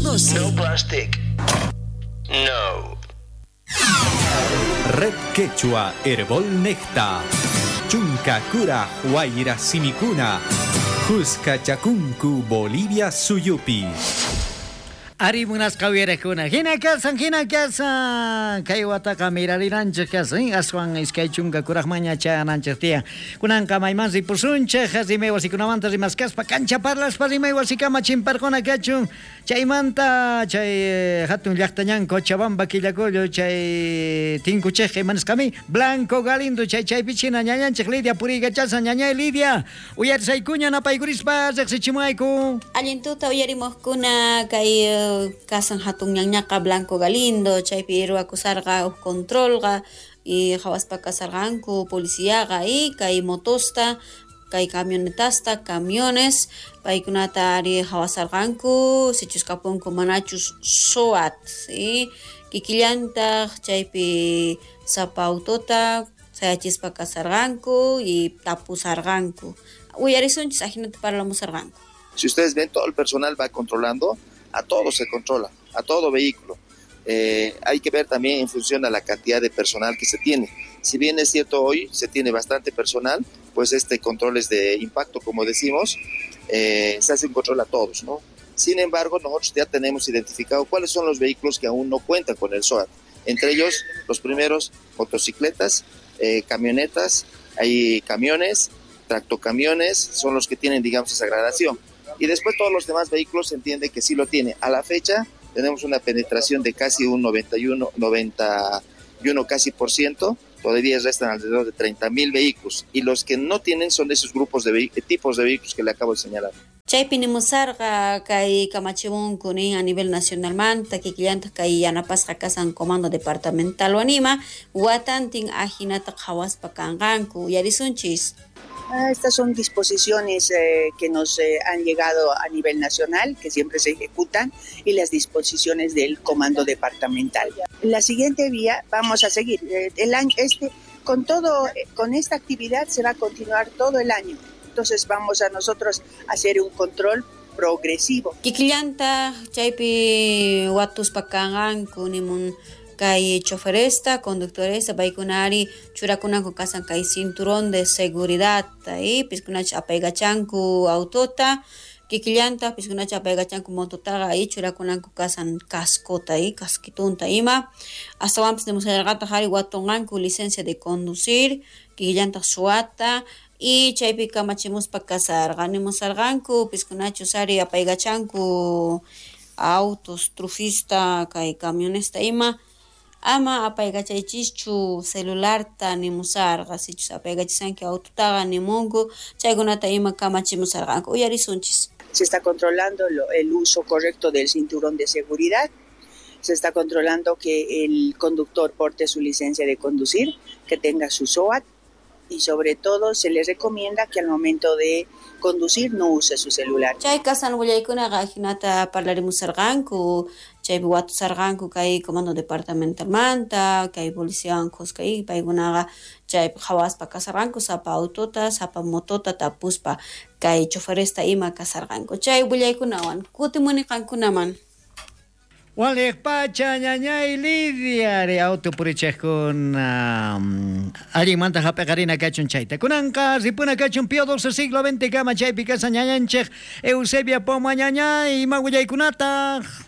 12. No plastic. No. Red Quechua Herbol Necta. Chunka Kura Huayra Simikuna. Jusca Chakunku Bolivia Suyupi. Ari munasqa uyarakuna. Hina kasan, hina kasan. Kay wataqa mirarinanchik kasan. Aswan iskay chunka kuraqmaña chayananchik tiyan. Kunanqa mayman ripusunchik, rimay wasikunamanta rimaskaspa, kancha parlaspa rimay wasikama chimparquna kachun. Chaymanta chay hatun llaqtañan Cochabamba Quillacollo chay tinkuchik imanisqami Blanco Galindo chay chaypichina ñañanchik Lidia puriykachasan ñañay Lidia. Uyarisaykuña napaykurispa riqsichimuayku. Allin tuta uyarimuqkuna kay kasan hatun ñañaqa Blanco Galindo chaypi ruwakusarqa uj controlqa y qhawaspa kasarqanku policiaqa y kay motosta kay camionetasta camiones paykunata ari qhawasarqanku sichus kapunku manachus SOAT ¿sí? Kikillantaq chaypi sapa autota sayachispa kasarqanku y tapusarqanku uyarisunchis ajinata parlamusarqanku. Si ustedes ven, todo el personal va controlando, a todo se controla, a todo vehículo. Hay que ver también en función a la cantidad de personal que se tiene. Si bien es cierto hoy se tiene bastante personal, pues este control es de impacto, como decimos, se hace un control a todos, ¿no? Sin embargo, nosotros ya tenemos identificado cuáles son los vehículos que aún no cuentan con el SOAT. Entre ellos, los primeros, motocicletas, camionetas, hay camiones, tractocamiones, son los que tienen, digamos, esa gradación. Y después todos los demás vehículos se entiende que sí lo tiene. A la fecha tenemos una penetración de casi un 91 casi por ciento. Todavía restan alrededor de 30,000 vehículos. Y los que no tienen son de esos grupos de tipos de vehículos que le acabo de señalar. Chaypi nimusarqa kay kamachimunku nin a nivel nacional manta kikillantaq kay yanapasqa kasan comando departamental wanima watantin ajinata qhawaspa kanqanku uyarisunchis. Estas son disposiciones que nos han llegado a nivel nacional, que siempre se ejecutan, y las disposiciones del comando departamental. La siguiente vía vamos a seguir. El año con esta actividad se va a continuar todo el año. Entonces vamos a nosotros a hacer un control progresivo. Kikillanta chaypi watuspa kanqanku nimun kay choferesta, conductoresta, paykunari churakunanku kasan kay cinturón de seguridad, y piskunacha apaykachanku autota, kikillanta piskunacha apaykachanku mototaqa y churakunanku kasan cascota y casquitunta ima, astawanpis nimusallarqataq ari watunqanku licencia de conducir, kikillanta SOATA, y chaypi kamachimuspa kasarqa nimusarqanku piskunachus ari apaykachanku autos, trufista, kay camionesta ima, ama apaykachaychischu celularta nimusarqa sichus apaykachisanki autotaqa nimunku chaykunata ima kamachimusarqanku uyarisunchis. Se está controlando el uso correcto del cinturón de seguridad, se está controlando que el conductor porte su licencia de conducir, que tenga su SOAT y sobre todo se le recomienda que al momento de conducir no use su celular. Chay kasan willaykunaqa ajinata parlarimusarqanku, chaypi watusarqanku kay comando departamentalmanta, kay policiawan kuska y paykunaqa chaypi qhawaspa kasarqanku sapa autota, sapa motota tapuspa kay choferesta ima kasarqanku. Chay willaykunawan kutimuni qankunaman. Waliq pacha ñañay Lidia ari auto purichejkuna allinmanta hap'iqarina kachun chayta kunanqa ripuna kachun Pío XII siglo XX kama chaypi kasan ñañanchik Eusebia Poma ñañay ima willaykunataq.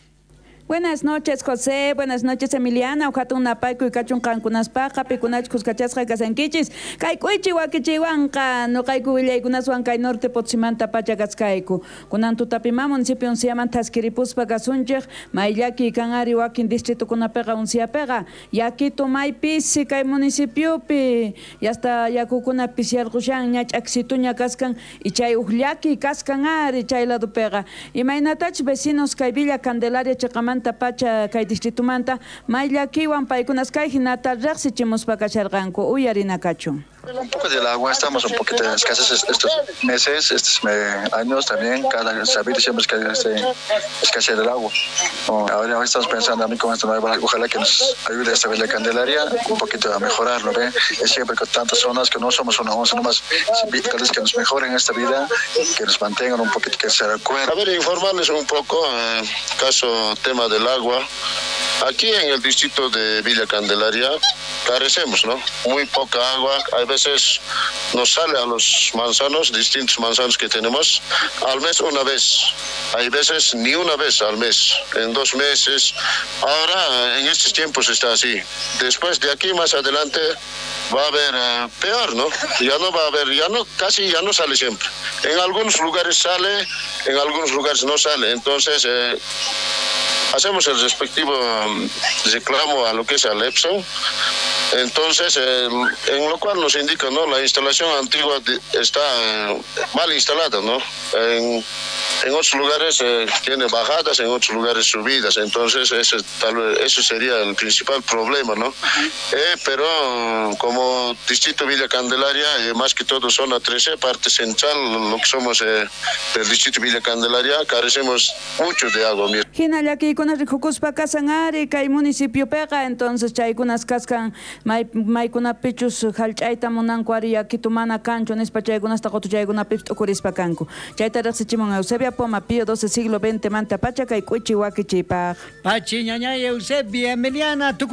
Buenas noches, José. Buenas noches, Emiliana. Ujatun napayku y kachun qankunaspaqa pikunach kuskachasqa kasankichis. Kaykuichi wakichiwanqa nuqayku willaykunaswan kay norte Potosímanta pacha kaskayku. Kunan tutapima municipio unsiaman thaskiripuspa kasunchik mayllaki kanari wakin distritukunapiqa unsiapiqa yakitu maypisi kay municipiopi yasta yakukuna pisiyarqushan ña ch'aksituña kaskan y chay uqllaki kaskan ari chay ladopiqa. Imaynatach vecinos kay Villa Candelaria chiqamanta pacha kay distritumanta mayllakiwan paykunas kay hinata riqsichimuspa kasharqanku uyarina kachun. Un poco del agua, estamos un poquito en escasez estos meses, estos años también, cada sabido siempre que hay escasez del agua. Ahora estamos pensando a mí con esta nueva, ojalá que nos ayude esta Villa Candelaria un poquito a mejorar, ¿no ve? Es siempre con tantas zonas que no somos una once nomás, tal vez que nos mejoren esta vida, que nos mantengan un poquito, que se recuerden. A ver, informarles un poco, caso tema del agua. Aquí en el distrito de Villa Candelaria carecemos, ¿no? Muy poca agua. A veces nos sale a los manzanos, distintos manzanos que tenemos, al mes una vez. Hay veces ni una vez al mes, en 2 meses. Ahora, en estos tiempos está así. Después de aquí más adelante va a haber peor, ¿no? Ya no va a haber, ya no, casi ya no sale siempre. En algunos lugares sale, en algunos lugares no sale. Entonces, hacemos el respectivo reclamo a lo que es al EPSO. Entonces, en lo cual nos indica, ¿no? La instalación antigua está mal instalada, ¿no? En otros lugares tiene bajadas, en otros lugares subidas. Entonces, ese, tal vez, eso sería el principal problema, ¿no? Pero como distrito Villa Candelaria, más que todo zona 13, parte central, lo que somos del distrito Villa Candelaria, carecemos mucho de agua. Hina llakiykunas rikukuspa kasan ari kay municipiopiqa, entonces chaykunas kaskan maykunapichus hallch'ayta munanku ari yakitu mana kanchu nispa chaykunasta qutuchaykunapipis t'ukurispa kanku. Chayta riqsichimun Eusebia Poma Pío XII siglo XX manta pacha kay k'uchi wakichipaq. Pachi ñañay Eusebia Emiliana.